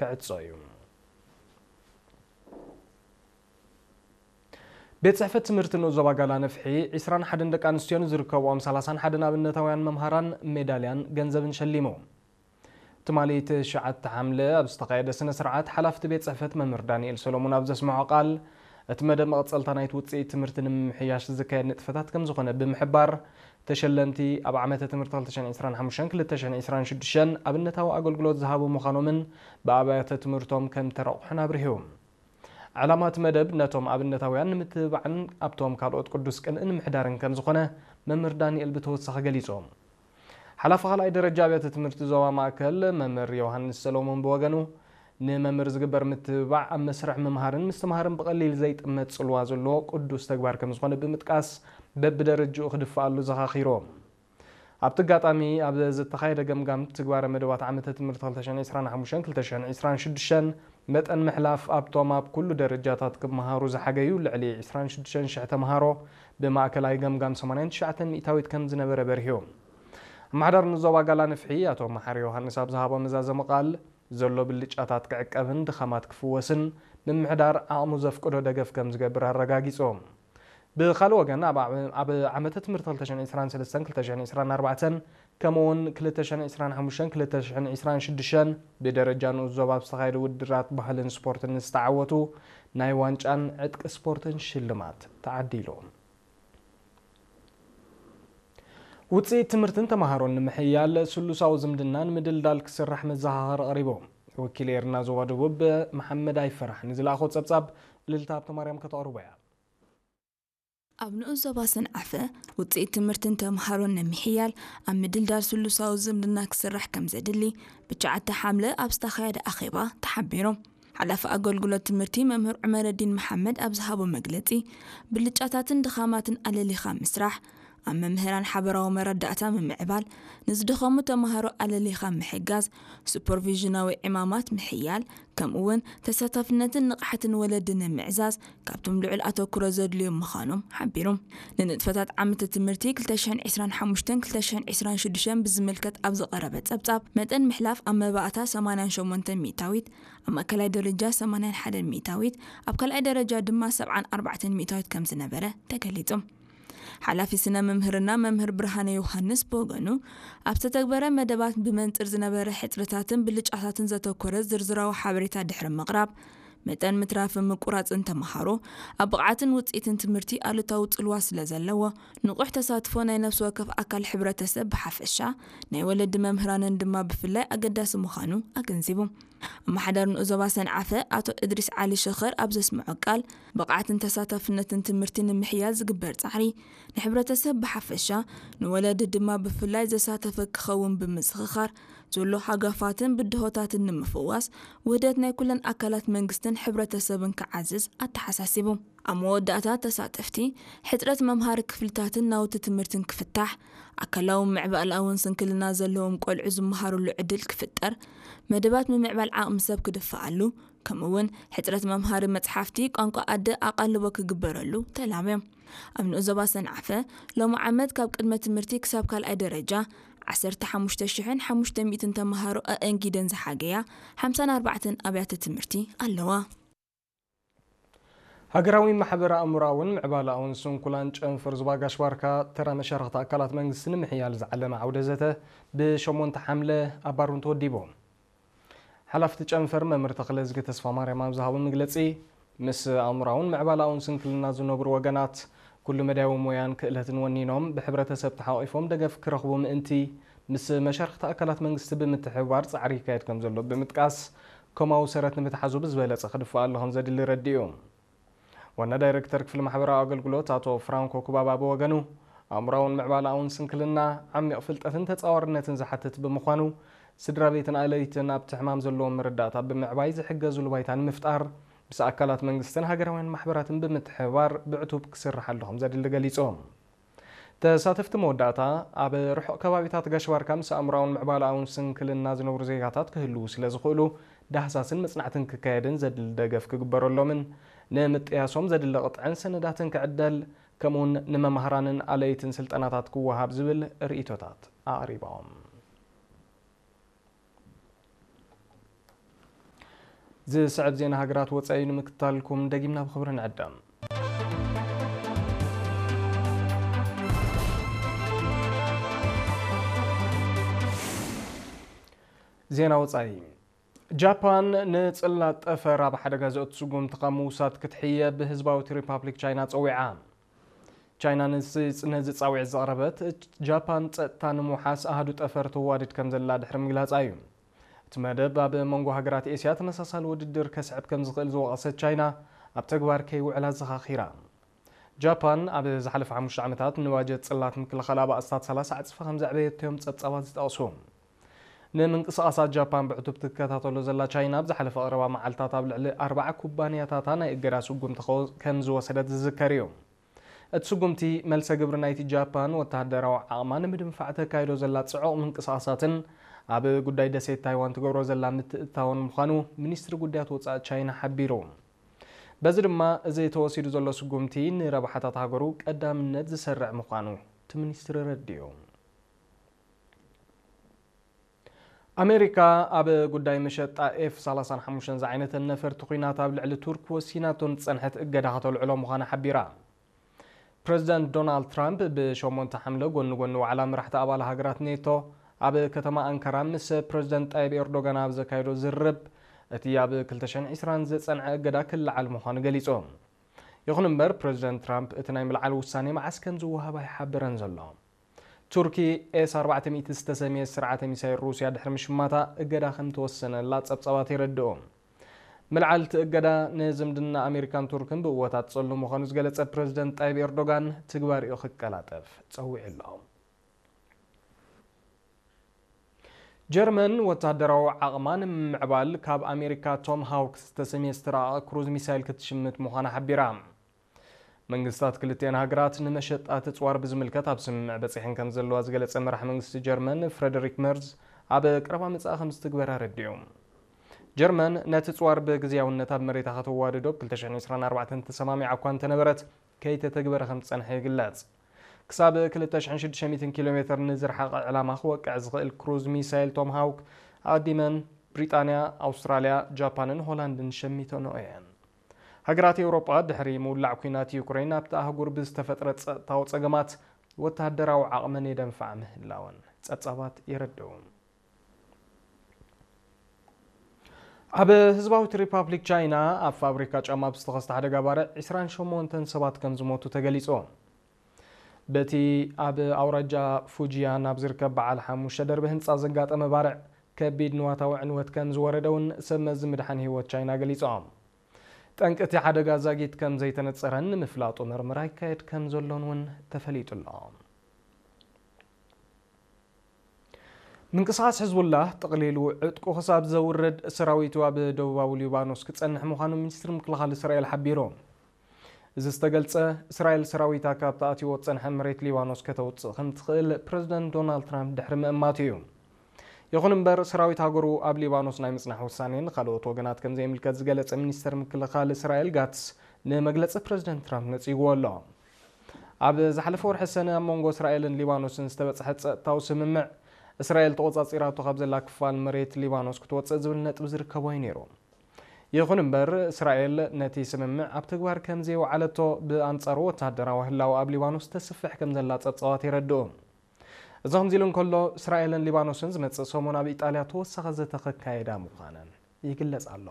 ክዕጾ እዩ። ቤት ጽሕፈት ትምህርቲ ንኡስ ዞባ ጋላ ነፍሒ፣ ዕስራን ሓደን ደቂ ኣንስትዮን ዝርከብኦም ሰላሳን ሓደን ኣብነታውያን መምሃራን ሜዳልያን ገንዘብን ሸሊሙ። ትማሊ ትሽዓተ ሓምለ ኣብ ዝተኻየደ ስነ ስርዓት፣ ሓላፍቲ ቤት ጽሕፈት መምህር ዳንኤል ሰሎሞን ኣብ ዘስምዖ ቃል፣ እቲ መደብ መቐጸልታ ናይቲ ውጽኢት ትምህርቲ ንምምሕያሽ ዝካየድ ንጥፈታት ከም ዝኾነ ብምሕባር፣ ተሸለምቲ ኣብ ዓመተ ትምህርቲ ክልተ ሽሕን ዕስራን ሓሙሽተን ክልተ ሽሕን ዕስራን ሽዱሽተን ኣብነታዊ ኣገልግሎት ዝሃቡ ምዃኖምን ብኣብያተ ትምህርቶም ከም ተረቑሑን ኣብሪሁ። ዕላማ እቲ መደብ ነቶም ኣብነታውያን ንምትብባዕን ኣብቶም ካልኦት ቅዱስ ቅንኢ ንምሕዳርን ከም ዝኾነ መምህር ዳንኤል ብተወሳኺ ገሊጾም። ሓላፊ ካልኣይ ደረጃ ኣብያተ ትምህርቲ ዞባ ማእከል መምህር ዮሃንስ ሰሎሞን ብወገኑ፣ ንመምህር ዝግበር ምትብባዕ ኣብ መስርሕ ምምሃርን ምስትምሃርን ብቐሊል ዘይጥመት ጽልዋ ዘለዎ ቅዱስ ተግባር ከም ዝኾነ ብምጥቃስ፣ በብደረጅኡ ክድፍኣሉ ዘኻኺሮም። ኣብቲ ኣጋጣሚ ኣብ ዝተኻየደ ገምጋም ትግባረ መደባት ዓመተ ትምህርቲ ክልተ ሽሕን ዕስራን ሓሙሽተን ክልተ ሽሕን ዕስራን ሽዱሽተን መጠን ምሕላፍ ኣብቶም ኣብ ኩሉ ደረጃታት ክመሃሩ ዝሓገዩ ልዕሊ ዕስራን ሽዱሽተን ሽሕ ተምሃሮ ብማእከላይ ገምጋም ሰማንያን ትሽዓተን ሚእታዊት ከም ዝነበረ በሪሁ። ኣመሓዳሪ ንዞባ ጋላ ንፍሒ ኣቶ መሓሪ ዮሃንስ ኣብ ዝሃቦ መዛዘሚ ቃል፣ ዘሎ ብልጫታት ክዕቀብን ድኻማት ክፍወስን ምምሕዳር ዓቕሙ ዘፍቅዶ ደገፍ ከም ዝገብር ኣረጋጊጾም። ብኻልእ ወገን፣ ኣብ ዓመ-፣ ኣብ ዓመተ ትምህርቲ ክልተ ሽሕን ዕስራን ሰለስተን ክልተ ሽሕን ዕስራን ኣርባዕተን ከምኡውን ክልተ ሽሕን ዕስራን ሓሙሽተን ክልተ ሽሕን ዕስራን ሽዱሽተን ብደረጃ ንኡስ ዞባ ኣብ ዝተኻየደ ውድድራት ባህልን ስፖርትን ንዝተዓወቱ ናይ ዋንጫን ዕጥቂ ስፖርትን ሽልማት ተዓዲሉ። ውፅኢት ትምህርትን ተምሃሮን ንምሕያል ስሉሳዊ ዝምድናን ምድልዳል ክስራሕ መዘኻኸሪ ቀሪቡ። ወኪል ኤርና ዞባ ደቡብ መሓመድ ኣይፈራሕ ንዝለኣኾ ጸብጻብ ልልታ ሃብተማርያም ከተቕርቦ እያ። ኣብ ንኡስ ዞባ ሰንዓፈ ውፅኢት ትምህርትን ተምሃሮን ንምሕያል ኣብ ምድልዳል ስሉሳዊ ዝምድና ክስራሕ ከም ዘድሊ ብትሽዓተ ሓምለ ኣብ ዝተኻየደ ኣኼባ ተሓቢሩ። ሓላፊ ኣገልግሎት ትምህርቲ መምህር ዑመረዲን መሓመድ ኣብ ዝሃቦ መግለፂ፣ ብልጫታትን ድኻማትን ኣለሊኻ ምስራሕ፣ ኣብ መምህራን ሓበራዊ መረዳእታ ምምዕባል፣ ንዝደኸሙ ተምሃሮ ኣለሊኻ ምሕጋዝ፣ ሱፐርቪዥናዊ ዕማማት ምሕያል፣ ከምኡ እውን ተሳታፍነትን ንቕሓትን ወለዲ ንምዕዛዝ ካብቶም ልዑል ኣተኩሮ ዘድልዮም ምዃኖም ሓቢሩ። ንንጥፈታት ዓመተ ትምህርቲ ክልተ ሽሕን ዕስራን ሓሙሽተን ክልተ ሽሕን ዕስራን ሽዱሽተን ብዝምልከት ኣብ ዝቐረበ ጸብጻብ፣ መጠን ምሕላፍ ኣብ መባእታ ሰማንያን ሸሞንተን ሚእታዊት፣ ኣብ ማእከላይ ደረጃ ሰማንያን ሓደን ሚእታዊት፣ ኣብ ካልኣይ ደረጃ ድማ ሰብዓን ኣርባዕተን ሚእታዊት ከም ዝነበረ ተገሊጹ። ሓላፊ ስነ መምህርና መምህር ብርሃነ ዮሃንስ ብወገኑ፣ ኣብ ዝተተግበረ መደባት ብመንጽር ዝነበረ ሕጽረታትን ብልጫታትን ዘተኮረ ዝርዝራዊ ሓበሬታ ድሕሪ ምቕራብ፣ መጠን ምትራፍን ምቁራጽን ተምሃሮ ኣብ ብቕዓትን ውጽኢትን ትምህርቲ ኣሉታዊ ጽልዋ ስለ ዘለዎ፣ ንቑሕ ተሳትፎ ናይ ነፍሲ ወከፍ ኣካል ሕብረተሰብ ብሓፈሻ፣ ናይ ወለዲ መምህራንን ድማ ብፍላይ ኣገዳሲ ምዃኑ ኣገንዚቡ። ኣመሓዳሪ ንኡስ ዞባ ሰንዓፈ ኣቶ እድሪስ ዓሊ ሸኸር ኣብ ዘስምዖ ቃል፣ ብቕዓትን ተሳታፍነትን ትምህርቲ ንምሕያል ዝግበር ጻዕሪ ንሕብረተሰብ ብሓፈሻ፣ ንወለዲ ድማ ብፍላይ ዘሳተፈ ክኸውን ብምዝኽኻር፣ ዘሎ ሃጋፋትን ብድሆታትን ንምፍዋስ ውህደት ናይ ኩለን ኣካላት መንግስትን ሕብረተሰብን ክዓዝዝ ኣተሓሳሲቡ። ኣብ መወዳእታ ተሳተፍቲ፣ ሕጽረት መምሃሪ ክፍልታትን ናውቲ ትምህርትን ክፍታሕ፣ ኣካላውን ምዕባለኣውን ስንክልና ዘለዎም ቆልዑ ዝመሃሩሉ ዕድል ክፍጠር፣ መደባት ምምዕባል ዓቕሚ ሰብ ክድፈኣሉ፣ ከምኡ እውን ሕጽረት መምሃሪ መጽሓፍቲ ቋንቋ ኣደ ኣቓልቦ ክግበረሉ ተላብዮም። ኣብ ንኡስ ዞባ ሰንዓፈ፣ ሎሚ ዓመት ካብ ቅድመ ትምህርቲ ክሳብ ካልኣይ ደረጃ ዓሰርተ ሓሙሽተ ሽሕን ሓሙሽተ ሚእትን ተምሃሮ ኣእንጊደን ዝሓገያ ሓምሳን ኣርባዕተን ኣብያተ ትምህርቲ ኣለዋ። ሃገራዊ ማሕበረ ኣእምሮኣውን ምዕባለኣውን ስንኩላን ጨንፈር ዞባ ጋሽ ባርካ ተራ መሻርኽቲ ኣካላት መንግስቲ ንምሕያል ዝዓለመ ዓውደ ዘተ ብሸሞንተ ሓምለ ኣብ ባሩን ተወዲቡ። ሓላፍቲ ጨንፈር መምህር ተኽለዝጊ ተስፋማርያም ኣብ ዝሃቦ መግለጺ፣ ምስ ኣእምሮኣውን ምዕባለኣውን ስንክልና ዝነብሩ ወገናት ኩሉ መዳያዊ ሞያን ክእለትን ወኒኖም ብሕብረተሰብ ተሓቒፎም ደገፍ ክረኽቡ ምእንቲ ምስ መሻርኽቲ ኣካላት መንግስቲ ብምትሕብባር ጻዕሪ ይካየድ ከም ዘሎ ብምጥቃስ፣ ከምኡ ሰረት ንምትሓዙ ብዝበለጸ ክድፍኣሉ ከም ዘድሊ ረዲኡ። ዋና ዳይሬክተር ክፍሊ ማሕበራዊ ኣገልግሎት ኣቶ ፍራንኮ ኩባባ ብወገኑ፣ ኣእምሮኣውን ምዕባለኣውን ስንክልና ዓሚቕ ፍልጠትን ተጻዋርነትን ዝሓትት ብምዃኑ፣ ስድራ ቤትን ኣለይትን ኣብቲ ሕማም ዘለዎም መረዳእታ ብምዕባይ ዝሕገዙሉ ባይታ ንምፍጣር፣ ምስ ኣካላት መንግስትን ሃገራውያን ማሕበራትን ብምትሕብባር ብዕቱብ ክስርሓሉ ከም ዘድሊ ገሊጾም። ተሳተፍቲ መወዳእታ፣ ኣብ ርሑቕ ከባቢታት ጋሽ ባርካ ምስ ኣእምሮኣውን ምዕባለኣውን ስንክልና ዝነብሩ ዜጋታት ክህልዉ ስለ ዝኽእሉ፣ ዳህሳስን መጽናዕትን ክካየድን ዘድሊ ደገፍ ክግበረሎምን ንምጥያሶም ዘድሊ ቅጥዕን ሰነዳትን ክዕደል፣ ከምኡውን ንመማህራንን ኣለይትን ስልጠናታት ክወሃብ ዝብል ርእይቶታት ኣቕሪቦም። ዝስዕብ ዜና ሃገራት ወጻኢ ንምክታልኩም ደጊምና ብኽብሪ ንዕደም። ዜና ወጻኢ። ጃፓን ንጽላት ጠፈር ኣብ ሓደጋ ዘእቱ ስጉምቲ ካብ ምውሳድ ክትሕየ ብህዝባዊት ሪፓብሊክ ቻይና ጸዊዓ። ቻይና ንስ-፣ ነዚ ጻውዒት ዘቕረበት፣ ጃፓን ጸጥታ ንምውሓስ ኣሃዱ ጠፈር ትዋድድ ከም ዘላ ድሕሪ ምግላጻ እዩ። እቲ መደብ ኣብ መንጎ ሃገራት ኤስያ ተመሳሳሊ ውድድር ከስዕብ ከም ዝኽእል ዝወቐሰት ቻይና፣ ኣብ ተግባር ከይውዕል ኣዘኻኺራ። ጃፓን ኣብ ዝሓለፈ ሓሙሽተ ዓመታት ንባጀት ጽላት ምክልኻል ኣባእስታት ሰላሳ ዕጽፊ ከም ዘዕበየቶ እዮም ጸብጻባት ዝጠቕሱ። ንምንቅስቓሳት ጃፓን ብዕቱብ ትከታተሎ ዘላ ቻይና፣ ኣብ ዝሓለፈ ቀረባ መዓልታት ኣብ ልዕሊ ኣርባዓ ኩባንያታታ ናይ እገዳ ስጉምቲ ከ-፣ ከም ዝወሰደት ዝዝከር እዩ። እቲ ስጉምቲ፣ መልሰ ግብሪ ናይቲ ጃፓን ወተሃደራዊ ዓቕማ ንምድንፋዕ ተካይዶ ዘላ ጽዑቕ ምንቅስቓሳትን ኣብ ጉዳይ ደሴት ታይዋን ትገብሮ ዘላ ምትእትታውን ምዃኑ ሚኒስትሪ ጉዳያት ወጻኢ ቻይና ሓቢሩ። በዚ ድማ፣ እዚ ተወሲዱ ዘሎ ስጉምቲ ንረብሓታት ሃገሩ ቀዳምነት ዝሰርዕ ምዃኑ እቲ ሚኒስትሪ ረዲኡ። ኣሜሪካ ኣብ ጉዳይ መሸጣ ኤፍ ሰላሳን ሓሙሽተን ዝዓይነተን ነፈርቲ ኲናት ኣብ ልዕሊ ቱርክ ወሲናቶ ንዝጸንሐት እገዳ ከተልዕሎ ምዃና ሓቢራ። ፕረዚደንት ዶናልድ ትራምፕ ብሸሞንተ ሓምለ ጎኒ ጎኒ ዋዕላ መራሕቲ ኣባል ሃገራት ኔቶ ኣብ ከተማ ኣንካራ ምስ ፕረዚደንት ጣይብ ኤርዶጋን ኣብ ዘካየዶ ዝርርብ፣ እቲ ኣብ ክልተ ሽሕን ዕስራን ዝጸንዐ እገዳ ክለዓል ምዃኑ ገሊጹ። ይኹን እምበር፣ ፕረዚደንት ትራምፕ እቲ ናይ ምልዓል ውሳኔ መዓስ ከም ዝወሃብ ኣይሓበረን ዘሎ። ቱርኪ ኤስ ኣርባዕተ ሚእቲ ዝተሰምየ ስርዓተ ሚሳይል ሩስያ ድሕሪ ምሽማታ እገዳ ከም ተወሰነላ ጸብጻባት የረድኡ። ምልዓል እቲ እገዳ ንዝምድና ኣሜሪካን ቱርክን ብእወታት ጸሉ ምዃኑ ዝገለጸ ፕረዚደንት ጣይብ ኤርዶጋን፣ ትግባሪኡ ክቀላጠፍ ጸዊዑ ኣሎ። ጀርመን ወታደራዊ ዓቕማ ንምምዕባል ካብ ኣሜሪካ ቶም ሃውክ ዝተሰምየ ዝተራቐቐ ክሩዝ ሚሳይል ክትሽምት ምዃና ሓቢራ። መንግስታት ክልቲአን ሃገራት ንመሸጣ ትጽዋር ብዝምልከት ኣብ ስምምዕ በጺሐን ከም ዘለዋ ዝገለጸ መራሕ መንግስቲ ጀርመን ፍረደሪክ መርዝ፣ ኣብ ቀረባ መጻኢ ከም ዝትግበር ኣረዲኡ። ጀርመን ነቲ ጽዋር ብግዝያውነት ኣብ መሬታ ከተዋድዶ ብ ክልተ ሽሕን ዕስራን ኣርባዕተን ተሰማሚዓ እኳ እንተነበረት፣ ከይተተግበረ ከም ዝጸንሐ ይግለጽ። ክሳብ ክልተ ሽሕን ሽዱሽተ ሚእትን ኪሎ ሜትር ንዝረሓቐ ዕላማ ክወቅዕ ዝኽእል ክሩዝ ሚሳይል ቶም ሃውክ ኣቐዲመን ብሪጣንያ፣ ኣውስትራልያ፣ ጃፓንን ሆላንድን ሸሚተንኦ እየን። ሃገራት ኤውሮጳ ድሕሪ ምውላዕ ኲናት ዩክሬን ኣብቲ ኣህጉር ብዝተፈጥረ ጸጥታዊ ጸገማት ወተሃደራዊ ዓቕመን የደንፍዓ ምህላወን ጸብጻባት የረድኡ። ኣብ ህዝባዊት ሪፓብሊክ ቻይና ኣብ ፋብሪካ ጫማ ብዝተኸስተ ሓደጋ ባርዕ ዕስራን ሸሞንተን ሰባት ከም ዝሞቱ ተገሊጹ። በቲ ኣብ ኣውራጃ ፉጂያን ኣብ ዝርከብ በዓል ሓሙሽተ ደርቢ ህንጻ ዘጋጠመ ባርዕ ከቢድ ንዋታዊ ዕንወት ከም ዝወረደ እውን ሰብ መዚ ምድሓን ህይወት ቻይና ገሊጾም። ጠንቂ እቲ ሓደጋ ዛጊት ከም ዘይተነጸረን ንምፍላጡ መርመራ ይካየድ ከም ዘሎን እውን ተፈሊጡ ኣሎ። ምንቅስቓስ ሕዝቡላህ ጠቕሊሉ ዕጥቁ ክሳብ ዘውርድ ሰራዊቱ ኣብ ደቡባዊ ሊባኖስ ክጸንሕ ምዃኑ ሚኒስትሪ ምክልኻል እስራኤል ሓቢሩ። እዚ ዝተገልጸ፣ እስራኤል ሰራዊታ ካብቲ ኣትይዎ ዝጸንሐ መሬት ሊባኖስ ከተውጽእ ከም ትኽእል ፕረዚደንት ዶናልድ ትራምፕ ድሕሪ ምእማቱ እዩ። ይኹን እምበር፣ ሰራዊት ሃገሩ ኣብ ሊባኖስ ናይ ምጽናሕ ውሳኔ ንኻልኦት ወገናት ከም ዘይምልከት ዝገለጸ ሚኒስተር ምክልኻል እስራኤል ጋትስ፣ ንመግለጺ ፕረዚደንት ትራምፕ ነጺግዎ ኣሎ። ኣብ ዝሓለፈ ወርሒ ሰነ ኣብ መንጎ እስራኤልን ሊባኖስን ዝተበጽሐ ጸጥታዊ ስምምዕ፣ እስራኤል ተቖጻጺራቶ ካብ ዘላ ክፋል መሬት ሊባኖስ ክትወጽእ ዝብል ነጥቢ ዝርከቦ እዩ ነይሩ። ይኹን እምበር፣ እስራኤል ነቲ ስምምዕ ኣብ ተግባር ከም ዘየውዓለቶ፣ ብኣንጻሩ ወተሃደራዊ ህላወ ኣብ ሊባኖስ ተስፍሕ ከም ዘላ ጸብጻባት የረድኡ። እዚ ከምዚ ኢሉ እንከሎ፣ እስራኤልን ሊባኖስን ዝመጽእ ሰሙን ኣብ ኢጣልያ ተወሳኺ ዘተ ከካየዳ ምዃነን ይግለጽ ኣሎ።